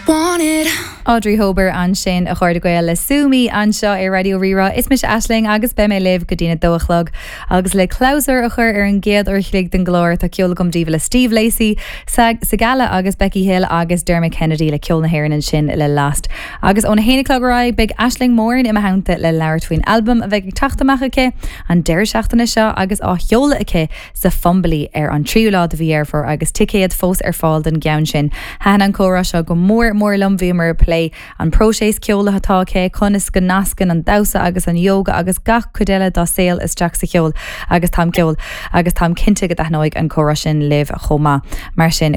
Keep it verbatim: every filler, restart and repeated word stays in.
Want it. Audrey Hober ansin a chairde Gael le Sue Me anseo ar Raidió Rí-Rá is mise Aisling agus beidh mé libh go dtína dó a chlog agus le clabhsúr a chur ar an gcéad uair a chloig den gclár tá ceol agam daoibh le Steve Lacey, Sigala agus Becky Hill agus Dermot Kennedy le ceol na hÉireann ansin le Last. Agus óna haon a chlog ar aghaidh beidh Aisling Moran i mo theannta le labhairt faoin albam a bheidh ag teacht amach aici an deireadh seachtaine seo agus á sheoladh aici sa Fumbally ar an tríú lá de mhí Dheireadh Fómhair agus ticéid fós ar fáil don gceann sin. Thaitin an comhrá seo go mór mór liom bhíomar ag plé an próiseas ceoil atá aici conas go nascann an damhsa agus an yoga agus gach cuid eile dá saol isteach sa cheol agus táim ceol agus táim cinnte go dtaitneoidh an comhrá sin libh chomh maith mar sin.